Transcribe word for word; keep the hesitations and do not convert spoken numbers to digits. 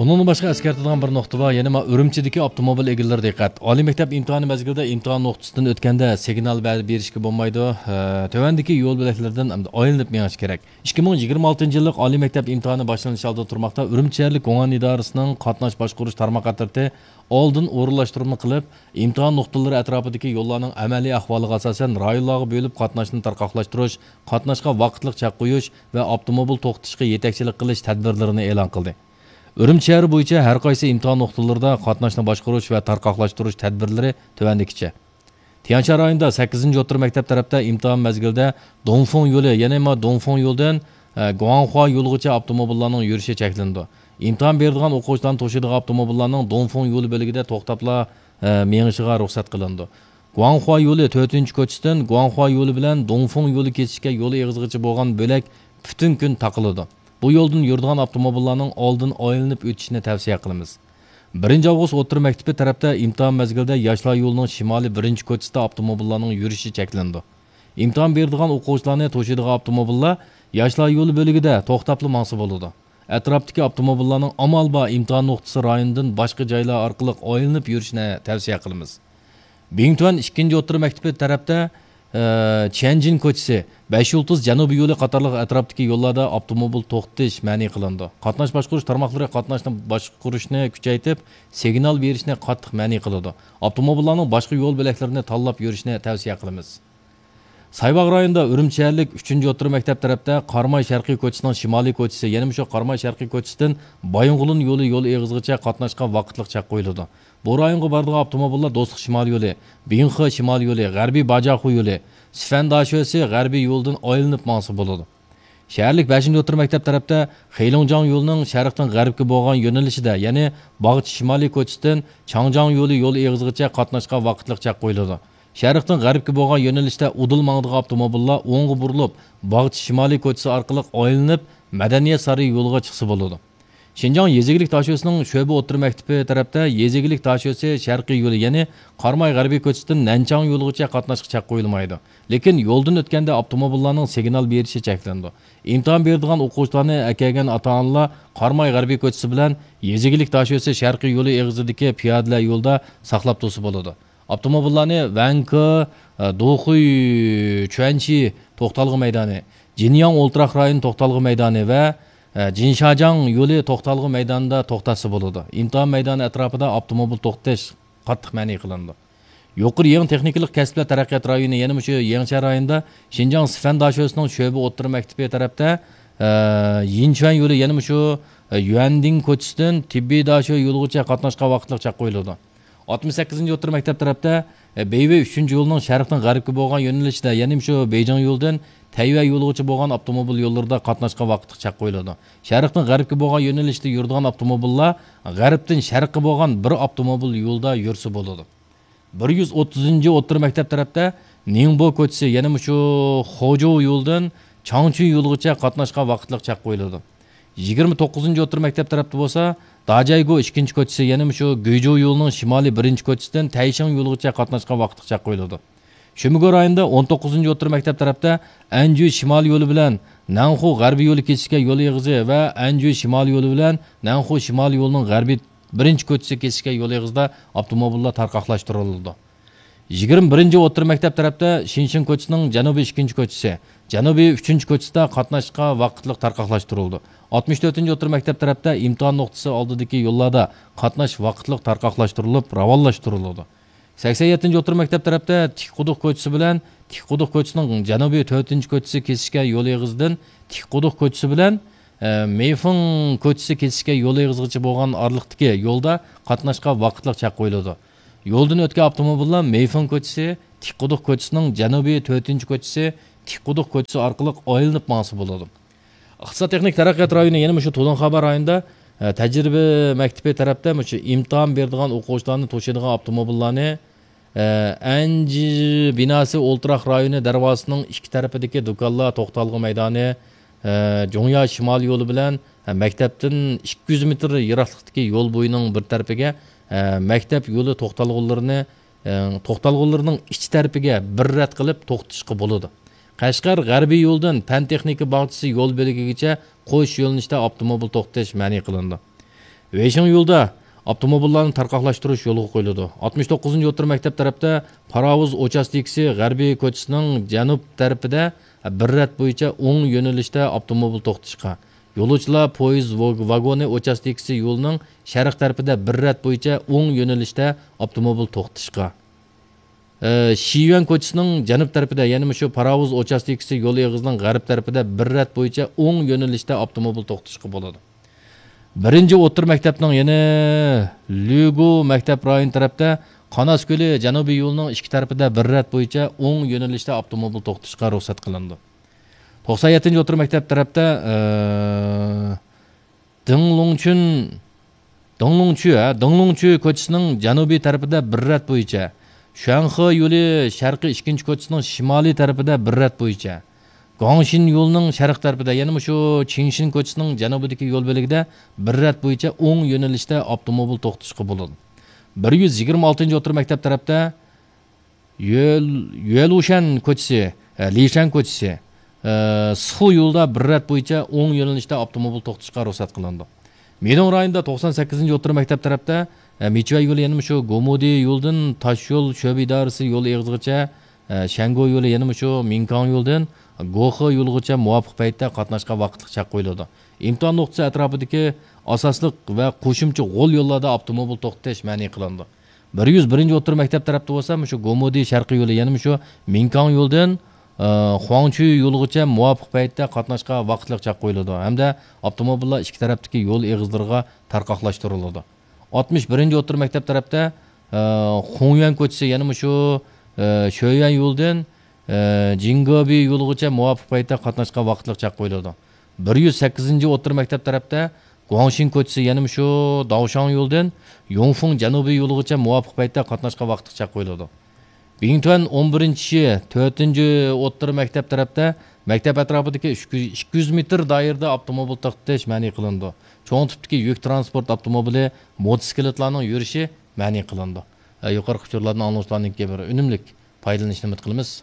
ئۇنىڭدىن باشقا ئەسكەرتىدىغان بىر نۇقتا بار، يەنى ما ئۈرۈمچىدىكى ئاپتوموبىل ئىگىلىرى دىققەت! ئالىي مەكتەپ ئىمتىھانى مەزگىلىدە ئىمتىھان نۇقتىسىدىن ئۆتكەندە سىگنال بە-، بېرىشكە بولمايدۇ. ھە، تۆۋەندىكى يول بۆلەكلىرىدىن ئايلىنىپ مېڭىش كېرەك. ئىككى مىڭ يىگىرمە ئالتىنچى يىللىق ئالىي مەكتەپ ئىمتىھانى باشلىنىش ئالدىدا تۇرماقتا. ئۈرۈمچى شەھەرلىك گۇڭئەن ئىدارىسىنىڭ قاتناش باشقۇرۇش تارماق ئەترىتى ئالدىن ئورۇنلاشتۇرما قىلىپ، ئىمتىھان نۇقتىلىرى ئەتراپىدىكى يوللارنىڭ ئەمەلىي ئەھۋالىغا ئاساسەن رايونلارغا بۆلۈپ قاتناشنى تارقاقلاشتۇرۇش، قاتناشقا ۋاقىتلىق چەك قويۇش ۋە ئاپتوموبىل توختىتىشقا يېتەكچىلىك قىلىش تەدبىرلىرىنى ئېلان قىلدى. ئۈرۈمچى شەھىرى بويىچە ھەر قايسى ئىمتىھان نۇقتىلىرىدا قاتناشنى باشقۇرۇش ۋە تارقاقلاشتۇرۇش تەدبىرلىرى تۆۋەندىكىچە. تيەنشان رايونىدا سەككىزىنچى ئوتتۇرا مەكتەپ تەرەپتە ئىمتىھان مەزگىلىدە دۇڭفېڭ يولى، يەنى ما دۇڭفېڭ يولىدىن، ئە، گۇاڭخۇا يولىغىچە ئاپتوموبىللارنىڭ يۈرۈشى چەكلىنىدۇ. ئىمتىھان بېرىدىغان ئوقۇغۇچىلارنى توشۇيدىغان ئاپتوموبىللارنىڭ دۇڭفېڭ يولى بۆلىكىدە توختاپلا، ئە، مېڭىشىغا رۇخسەت قىلىنىدۇ. گۇاڭخۇا يولى تۆتىنچى كوچىسىدىن گۇاڭخۇا يولى بىلەن دۇڭفېڭ يولى كېسىشكەن يول ئېغىزىغىچە بولغان بۆلەك پۈتۈن كۈن تاقىلىدۇ. بۇ يولدىن يۈرىدىغان ئاپتوموبىللارنىڭ ئالدىن ئايلىنىپ ئۆتۈشىنى تەۋسىيە قىلىمىز. بىرىنچى ئاۋغۇست ئوتتۇرا مەكتىپى تەرەپتە ئىمتىھان مەزگىلىدە ياشلار يولىنىڭ شىمالىي بىرىنچى كوچىسىدا ئاپتوموبىللارنىڭ يۈرۈشى چەكلىنىدۇ. ئىمتىھان بېرىدىغان ئوقۇغۇچىلارنى توشۇيدىغان ئاپتوموبىللار ياشلار يولى بۆلىكىدە توختاپلا ماڭسا بولىدۇ. ئەتراپتىكى ئاپتوموبىللارنىڭ ئامال بار ئىمتىھان نۇقتىسى رايونىدىن باشقا جايلار ئارقىلىق ئايلىنىپ يۈرۈشىنى تەۋسىيە قىلىمىز. بىڭتۈەن ئىككىنچى ئوتتۇرا مەكتىپى تەرەپتە، ئە، چيەنجىن كوچىسى، بەش يۇلتۇز جەنۇبىي يولى قاتارلىق ئەتراپتىكى يوللاردا ئاپتوموبىل توختىتىش مەنئى قىلىنىدۇ. قاتناش باشقۇرۇش تارماقلىرى قاتناشنى باشقۇرۇشنى كۈچەيتىپ، سىگنال بېرىشنى قاتتىق مەنئى قىلىدۇ. ئاپتوموبىللارنىڭ باشقا يول بۆلەكلىرىنى تاللاپ يۈرۈشىنى تەۋسىيە قىلىمىز. سايباغ رايونىدا ئۈرۈمچى شەھەرلىك ئۈچىنچى ئوتتۇرا مەكتەپ تەرەپتە قاراماي شەرقىي كوچىسىنىڭ شىمالىي كوچىسى، يەنە مۇشۇ قاراماي شەرقىي كوچىسىدىن بايىنغولىن يولى يول ئېغىزىغىچە قاتناشقا ۋاقىتلىق چەك قويۇلىدۇ. بۇ رايونغا بارىدىغان ئاپتوموبىللار دوستلۇق شىمال يولى، بىڭخې شىمال يولى، غەربىي باجاخۇ يولى، سىفەن داشۆسى غەربىي يولىدىن ئايلىنىپ ماڭسا بولىدۇ. شەھەرلىك بەشىنچى ئوتتۇرا مەكتەپ تەرەپتە خېيلۇڭجاڭ يولىنىڭ شەرقتىن غەربكە بولغان يۆنىلىشىدە، يەنى باغچە شىمالىي كوچىسىدىن چاڭجاڭ يولى يول ئېغىزىغىچە قاتناشقا ۋاقىتلىق چەك قويۇلىدۇ. شەرقتىن غەربكە بولغان يۆنىلىشتە ئۇدۇل ماڭىدىغان ئاپتوموبىللار ئوڭغا بۇرۇلۇپ، باغچە شىمالىي كوچىسى ئارقىلىق ئايلىنىپ، مەدەنىيەت سارىيى يولىغا چىقسا بولىدۇ. شىنجاڭ يېزا ئىگىلىك داشۆسىنىڭ شۆبە ئوتتۇرا مەكتىپى تەرەپتە يېزا ئىگىلىك داشۆسى شەرقىي يولى، يەنى قاراماي غەربىي كوچىسىدىن نەنچاڭ يولىغىچە قاتناشقا چەك قويۇلمايدۇ. لېكىن يولدىن ئۆتكەندە ئاپتوموبىللارنىڭ سىگنال بېرىشى چەكلىنىدۇ. ئىمتىھان بېرىدىغان ئوقۇغۇچىلارنى ئەكەلگەن ئاتا-ئانىلار قاراماي غەربىي كوچىسى بىلەن يېزا ئىگىلىك داشۆسى شەرقىي يولى ئېغىزىدىكى پىيادىلەر يولىدا ساقلاپ تۇرسا بولىدۇ. ئاپتوموبىللارنى ۋەنكې، دوخۇي، چۈەنشى توختالغۇ مەيدانى، جىنياڭ ئولتۇراق رايونى توختالغۇ مەيدانى ۋە، ئە، جىنشاجاڭ يولى توختالغۇ مەيدانىدا توختاتسا بولىدۇ. ئىمتىھان مەيدانى ئەتراپىدا ئاپتوموبىل توختىتىش قاتتىق مەنئى قىلىنىدۇ. يۇقىرى يېڭى تېخنىكىلىق كەسىپلەر تەرەققىيات رايونى، يەنە مۇشۇ يېڭچيەن رايونىدا شىنجاڭ سىفەن داشۆسىنىڭ شۆبە ئوتتۇرا مەكتىپى تەرەپتە، ئە، يىنچۈەن يولى، يەنە مۇشۇ، ئە، يۈەندىڭ كوچىسىدىن تېببىي داشۆ يولىغىچە قاتناشقا ۋاقىتلىق چەك قويۇلىدۇ. ئاتمىش سەككىزىنچى ئوتتۇرا مەكتەپ تەرەپتە، ئە، بېيۋېي ئۈچىنچى يولىنىڭ شەرقتىن غەربكە بولغان يۆنىلىشىدە، يەنى مۇشۇ بېيجىڭ يولىدىن تەيۋەن يولىغىچە بولغان ئاپتوموبىل يوللىرىدا قاتناشقا ۋاقىتلىق چەك قويۇلىدۇ. شەرقتىن غەربكە بولغان يۆنىلىشتە يۈرىدىغان ئاپتوموبىللار غەربتىن شەرققە بولغان بىر ئاپتوموبىل يولدا يۈرسە بولىدۇ. بىر يۈز ئوتتۇزىنچى ئوتتۇرا مەكتەپ تەرەپتە نىڭبو كوچىسى، يەنى مۇشۇ خۇجۇ يولىدىن چاڭچۈ يولىغىچە قاتناشقا ۋاقىتلىق چەك قويۇلىدۇ. يىگىرمە توققۇزىنچى ئوتتۇرا مەكتەپ تەرەپتە بولسا، داجايگو ئىككىنچى كوچىسى، يەنى مۇشۇ گۈيجۇ يولىنىڭ شىمالىي بىرىنچى كوچىسىدىن تەيشىڭ يولىغىچە قاتناشقا ۋاقىتلىق چەك قويۇلىدۇ. شۈمىگو رايونىدا ئون توققۇزىنچى ئوتتۇرا مەكتەپ تەرەپتە ئەنجۈ شىمال يولى بىلەن نەنخۇ غەربىي يولى كېسىشكەن يول ئېغىزى ۋە ئەنجۈ شىمال يولى بىلەن نەنخۇ شىمال يولىنىڭ غەربىي بىرىنچى كوچىسى كېسىشكەن يول ئېغىزىدا ئاپتوموبىللار تارقاقلاشتۇرۇلىدۇ. يىگىرمە بىرىنچى ئوتتۇرا مەكتەپ تەرەپتە شىنشىن كوچىسىنىڭ جەنۇبىي ئىككىنچى كوچىسى، جەنۇبىي ئۈچىنچى كوچىسىدا قاتناشقا ۋاقىتلىق تارقاقلاشتۇرۇلىدۇ. ئاتمىش تۆتىنچى ئوتتۇرا مەكتەپ تەرەپتە ئىمتىھان نۇقتىسى ئالدىدىكى يوللاردا قاتناش ۋاقىتلىق تارقاقلاشتۇرۇلۇپ، راۋانلاشتۇرۇلىدۇ. سەكسەن يەتتىنچى ئوتتۇرا مەكتەپ تەرەپتە تىكقۇدۇق كوچىسى بىلەن تىكقۇدۇق كوچىسىنىڭ جەنۇبىي تۆتىنچى كوچىسى كېسىشكەن يول ئېغىزىدىن تىكقۇدۇق كوچىسى بىلەن، ئە، مېيفېڭ كوچىسى كېسىشكەن يول ئېغىزىغىچە بولغان ئارىلىقتىكى يولدا قاتناشقا ۋاقىتلىق چەك قويۇلىدۇ. يولدىن ئۆتكەن ئاپتوموبىللار مېيفېڭ كوچىسى، تىكقۇدۇق كوچىسىنىڭ جەنۇبىي تۆتىنچى كوچىسى، تىكقۇدۇق كوچىسى ئارقىلىق ئايلىنىپ ماڭسا بولىدۇ. ئىقتىساد تېخنىك تەرەققىيات رايونى، يەنە مۇشۇ تۇلۇنخابا رايونىدا، ئە، تەجرىبە مەكتىپى تەرەپتە مۇشۇ ئىمتىھان بېرىدىغان ئوقۇغۇچىلارنى توشۇيدىغان ئاپتوموبىللارنى، ئە، ئەنجى بىناسى ئولتۇراق رايونى دەرۋازىسىنىڭ ئىككى تەرىپىدىكى دۇكانلار، توختالغۇ مەيدانى، ئە، جۇڭيا شىمال يولى بىلەن، ئە، مەكتەپتىن ئىككى يۈز مېتىر يىراقلىقتىكى يول بويىنىڭ بىر تەرىپىگە، ئە، مەكتەپ يولى توختالغۇلىرىنى، ئە، توختالغۇلىرىنىڭ ئىچ تەرىپىگە بىر رەت قىلىپ توختىتىشقا بولىدۇ. قەشقەر غەربىي يولىدىن پەن تېخنىكا باغچىسى يول بۆلىكىگىچە قوش يۆنىلىشتە ئاپتوموبىل توختىتىش مەنئى قىلىنىدۇ. ۋېيشىڭ يولىدا ئاپتوموبىللارنى تارقاقلاشتۇرۇش يولغا قويۇلىدۇ. ئاتمىش توققۇزىنچى ئوتتۇرا مەكتەپ تەرەپتە پاراۋۇز ئوچاستىكىسى غەربىي كوچىسىنىڭ جەنۇب تەرىپىدە بىر رەت بويىچە ئوڭ يۆنىلىشتە ئاپتوموبىل توختىتىشقا، يولۇچىلار پويىز ۋاگ-، ۋاگونى ئوچاستىكىسى يولىنىڭ شەرق تەرىپىدە بىر رەت بويىچە ئوڭ يۆنىلىشتە ئاپتوموبىل توختىتىشقا، ئى، شىيۈەن كوچىسىنىڭ جەنۇب تەرىپىدە، يەنە مۇشۇ پاراۋۇز ئوچاستىكىسى يول ئېغىزىنىڭ غەرب تەرىپىدە بىر رەت بويىچە ئوڭ يۆنىلىشتە ئاپتوموبىل توختىتىشقا بولىدۇ. بىرىنچى ئوتتۇرا مەكتەپنىڭ يەنە لۈگۇ مەكتەپ رايونى تەرەپتە قاناس كۆلى جەنۇبىي يولىنىڭ ئىككى تەرىپىدە بىر رەت بويىچە ئوڭ يۆنىلىشتە ئاپتوموبىل توختىتىشقا رۇخسەت قىلىنىدۇ. توقسان يەتتىنچى ئوتتۇرا مەكتەپ تەرەپتە، ئى، دىڭلۇڭچۈن، دىڭلۇڭچۈ، ھە، دىڭلۇڭچۈ كوچىسىنىڭ جەنۇبىي تەرىپىدە بىر رەت بويىچە، شۇەنخې يولى شەرقىي ئىككىنچى كوچىسىنىڭ شىمالىي تەرىپىدە بىر رەت بويىچە، گۇاڭشىن يولىنىڭ شەرق تەرىپىدە، يەنە مۇشۇ چىڭشىن كوچىسىنىڭ جەنۇبىدىكى يول بۆلىكىدە بىر رەت بويىچە ئوڭ يۆنىلىشتە ئاپتوموبىل توختىتىشقا بولىدۇ. بىر يۈز يىگىرمە ئالتىنچى ئوتتۇرا مەكتەپ تەرەپتە يۆل-، يۆلۇشەن كوچىسى، ئە، لىشەن كوچىسى، ئە، سىخۇ يولىدا بىر رەت بويىچە ئوڭ يۆنىلىشتە ئاپتوموبىل توختىتىشقا رۇخسەت قىلىنىدۇ. مىدۇڭ رايونىدا توقسان سەككىزىنچى ئوتتۇرا مەكتەپ تەرەپتە، ئە، مىچۈەي يولى يەنە مۇشۇ گومۇدى يولىدىن تاشيول شۆبە ئىدارىسى يول ئېغىزىغىچە، ئە، شەنگو يولى يەنە مۇشۇ مىڭكاڭ يولىدىن گوخې يولىغىچە مۇۋاپىق پەيتتە قاتناشقا ۋاقىتلىق چەك قويۇلىدۇ. ئىمتىھان نۇقتىسى ئەتراپىدىكى ئاساسلىق ۋە قوشۇمچە غول يوللاردا ئاپتوموبىل توختىتىش مەنئى قىلىنىدۇ. بىر يۈز بىرىنچى ئوتتۇرا مەكتەپ تەرەپتە بولسا، مۇشۇ گومۇدى شەرقىي يولى، يەنە مۇشۇ مىڭكاڭ يولىدىن، ئى، خۇاڭچۈي يولىغىچە مۇۋاپىق پەيتتە قاتناشقا ۋاقىتلىق چەك قويۇلىدۇ ھەمدە ئاپتوموبىللار ئىككى تەرەپتىكى يول ئېغىزلىرىغا تارقاقلاشتۇرۇلىدۇ. ئاتمىش بىرىنچى ئوتتۇرا مەكتەپ تەرەپتە، ئى، خۇڭيۈەن كوچىسى، يەنە مۇشۇ، ئى، شۆيۈەن يولىدىن، ئى، جىڭگېبى يولىغىچە مۇۋاپىق پەيتتە قاتناشقا ۋاقىتلىق چەك قويۇلىدۇ. بىر يۈز سەككىزىنچى ئوتتۇرا مەكتەپ تەرەپتە گۇاڭشىن كوچىسى، يەنە مۇشۇ داۋشاڭ يولىدىن يۇڭفېڭ جەنۇبىي يولىغىچە مۇۋاپىق پەيتتە قاتناشقا ۋاقىتلىق چەك قويۇلىدۇ. بىڭتۈەن ئون بىرىنچى شى، تۆتىنچى ئوتتۇرا مەكتەپ تەرەپتە مەكتەپ ئەتراپىدىكى ئۈچ يۈز، ئىككى يۈز مېتىر دائىرىدە ئاپتوموبىل توختىتىش مەنئى قىلىنىدۇ. چوڭ تىپتىكى يۈك تىرانسپورت ئاپتوموبىلى، موتوسىكلىتلارنىڭ يۈرۈشى مەنئى قىلىنىدۇ. ئە، يۇقىرىقى ئۇچۇرلاردىن ئاڭلىغۇچىلارنىڭكى بىر ئۈنۈملۈك پايدىلىنىشىنى ئۈمىد قىلىمىز.